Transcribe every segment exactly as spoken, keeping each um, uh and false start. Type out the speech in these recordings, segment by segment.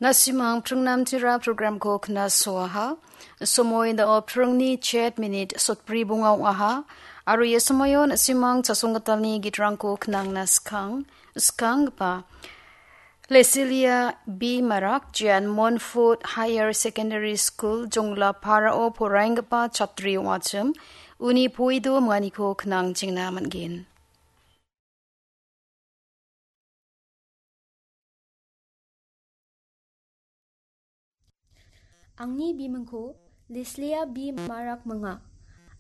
Nasimang pringnamtira programko knasoaha. Somoi dao pringni chet minit sotbri bonga ong·aha. Aro ia somoion nasimang chasonggitalni gitrangko knangna skang, skanggipa Lesilia B Marak, jean Montfort Higher Secondary School, Jongla Parao poraenggipa chatri ong·achim, uni poido manganiko knang chingna man·gen. Angni bimingko Leslia B Marak minga.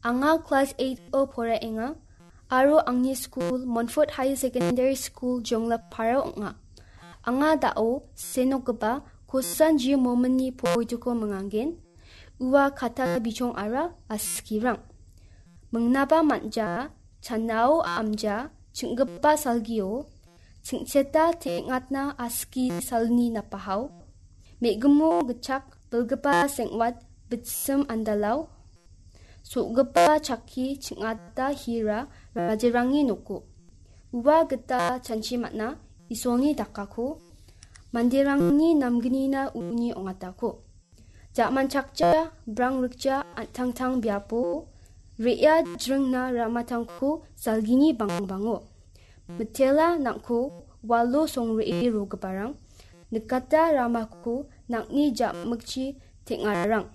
Anga klas eight-o poraenga, aro angni skul Montfort Higher Secondary School Jonglapara ong·a. Anga dao senokgipa kosan ji mominni poituko minganggen. Ua kata bichong ara askirang. Mingnaba manja, chanao amja, chinggipa salgio, chingcheta teng·atna aski salni napahao, me·gimo gitchak bilgipa seng·wat bitsim andalao, so·gipa chakki ching·ata hira rajerangni noko. Ua gita chanchi man·a Isolni dakako, manderangni namgnina uni ong·atako. Ja·manchakja, brang rikja, an·tangtang biapo, re·a jringna ramatangko salgini bangbango. Mitela nang·ko walo songre·e rogiparang, nikata ramako nang·ni ja·mikchi teng·arang.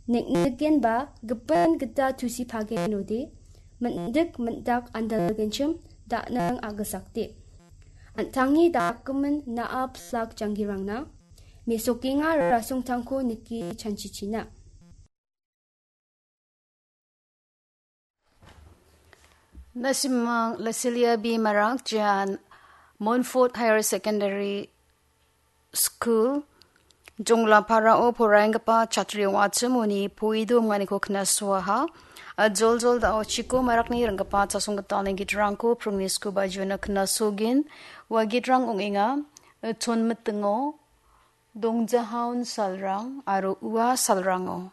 Nek·nikenba gipin gita tusipagen rode, min·dik min·dak andalgenchim da·nang a·gisakde. An·tangni dakgimin na·a pilak janggirangna, mesokenga rasongtangko nike chanchichina. Nasimang Lesilia B Marak, jean Montfort Higher Secondary School, Jonglaparao poraenggipa chatri ong·achim uni poido manganiko knasoaha. Joljol dao Chiko Marakni ringgipa chasonggitalni gitrangko pringni skuba juena knasogin. Ua gitrang ong·enga, Chonmitingo, Dongjahaon salrang aro ua salrango.